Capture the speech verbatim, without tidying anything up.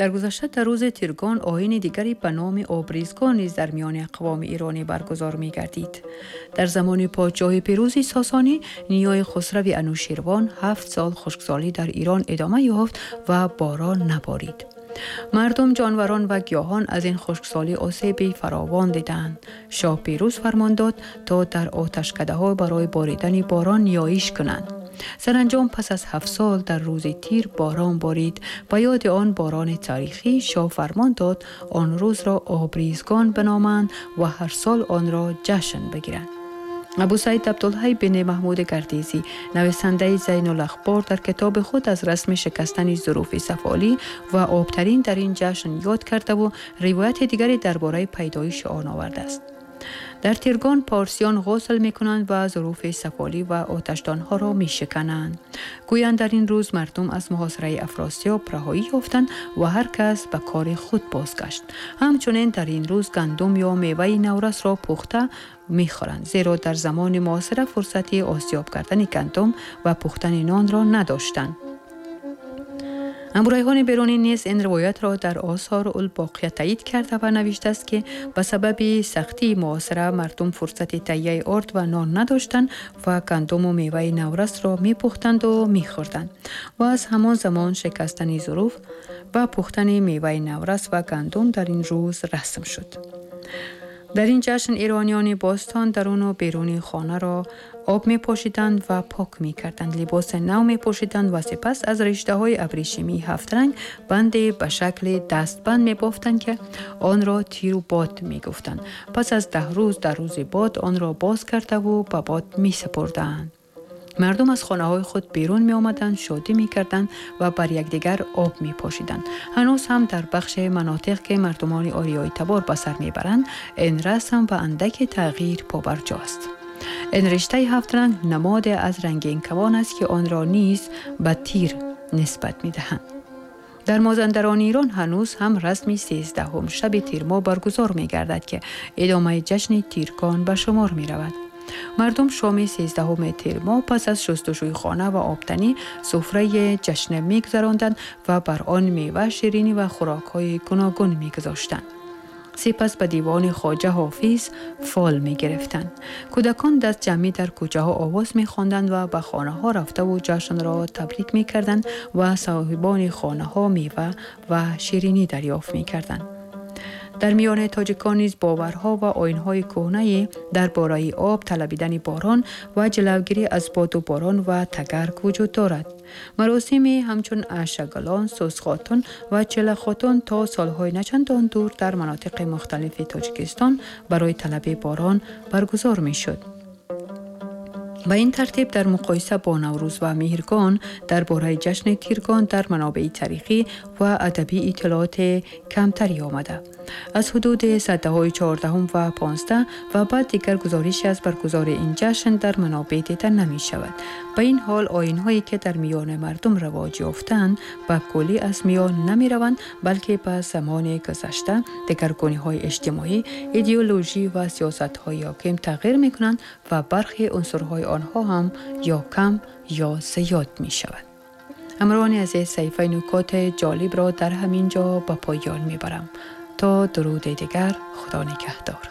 Дар гузашта дар рӯзи Тиргон оини дигаре ба номи Обризгон низ дар миёни ақвоми иронӣ баргузор мегардид. Дар замони подшоҳи Пирӯзи Сосонӣ, ниёи Хусрави Анӯшервон, ҳафт сол хушксолӣ дар Ирон идома ёфт ва борон наборид. Мардум, ҷонварон ва гиёҳон аз ин хушксолӣ осеби фаровон диданд. Шоҳ Пирӯз фармон дод, то дар оташкадаҳо барои боридани борон ниёиш кунанд. Саранҷом пас аз ҳафт сол дар рӯзи Тир борон борид. Ба ёди он борони таърихӣ шоҳ фармон дод, он рӯзро Обризгон биноманд ва ҳар сол онро ҷашн бигиранд. Абусаид Абдулҳай бин Маҳмуди Гардезӣ, нависандаи Зайнулахбор, дар китоби худ аз расми шикастани зуруфи сафолӣ ва обтарин дар ин ҷашн ёд кардаву ривояти дигаре дар бораи пайдоиши он овардааст. Дар Тиргон порсиён ғусл мекунанд ва зуруфи сафолӣ ва оташдонҳоро мешикананд. Гӯянд, дар ин рӯз мардум аз муҳосираи Афросиёб раҳоӣ ёфтанд ва ҳар кас ба кори худ бозгашт. Ҳамчунин дар ин рӯз гандум ё меваи наврасро пухта мехӯранд, зеро дар замони муҳосира фурсати осиёб кардани гандум ва пухтани нонро надоштанд. Абурайҳони Берунӣ низ ин ривоятро дар Осор улбоқия таъид карда ва навиштааст, ки ба сабаби сахтии муҳосира мардум фурсати таҳияи орд ва нон надоштанд ва гандуму меваи наврасро мепухтанду мехӯрданд ва аз ҳамон замон шикастани зуруф ва пухтани меваи наврас ва гандум дар ин рӯз расм шуд. Дар ин ҷашн ирониёни бостон даруну беруни хонаро об мепошиданд ва пок мекарданд, либоси нав мепошиданд ва сипас аз риштаҳои абрешимии ҳафтранг банде ба шакли дастбанд мебофтанд, ки онро тиру бод мегуфтанд. Пас аз даҳ рӯз дар рӯзи бод онро боз кардаву ба бод месупурданд. Мардум аз хонаҳои худ берун меомаданд, шодӣ мекарданд ва бар якдигар об мепошиданд. Ҳанӯз ҳам дар бахши манотиқ, ки мардумони ориёитабор ба сар мебаранд, ин расм ба андаки тағйир побарҷост. Ин риштаи ҳафтранг намоде аз рангинкавон аст, ки онро низ ба тир нисбат медиҳанд. Дар Мозандарони Ирон ҳанӯз ҳам расми сездаҳум шаби тирмоҳ баргузор мегардад, ки идомаи ҷашни Тиргон ба шумор меравад. Мардум шоми сездаҳуми тирмоҳ пас аз шустушӯи хона ва обтанӣ суфраи ҷашн мегузаронданд ва бар он мева, ширинӣ ва хӯрокҳои гуногун мегузоштанд. Сипас ба дивони хоҷа Ҳофиз фол мегирифтанд. Кӯдакон дастҷамъӣ дар кӯчаҳо овоз мехонданд ва ба хонаҳо рафтаву ҷашнро табрик мекарданд ва соҳибони хонаҳо мева ва ширинӣ дарёфт мекарданд. Дар миёни тоҷикон низ боварҳо ва оинҳои кӯҳнае дар бораи об талабидани борон ва ҷилавгирӣ аз боду борон ва тагарг вуҷуд дорад. Маросими ҳамчун Ашагалон, Сӯзхотун ва Чилахотун то солҳои начандон дур дар манотиқи мухталифи Тоҷикистон барои талаби борон баргузор мешуд. Ба ин тартиб, дар муқоиса бо Наврӯз ва Меҳргон, дар бораи ҷашни Тиргон дар манобеи таърихӣ ва адабӣ иттилооти камтаре омада. Аз ҳудуди садаҳои чордаҳум ва понздаҳ ва баъд дигар гузорише аз баргузори ин ҷашн дар манобеъ дида намешавад. Ба ин ҳол, оинҳое ки дар миёни мардум равоҷ ёфтаанд, ба куллӣ аз миён намераванд, балки ба замони гузашта дигаргуниҳои иҷтимоӣ, идеологӣ ва сиёсатҳои ҳоким тағйир мекунанд ва бархе унсурҳои онҳо ҳам ё кам ё зиёд мешавад. Ҳамроҳони азиз, саҳифаи нукоти ҷолибро дар ҳамин ҷо ба поён мебарам. То дуруди дигар, Худо нигаҳдор.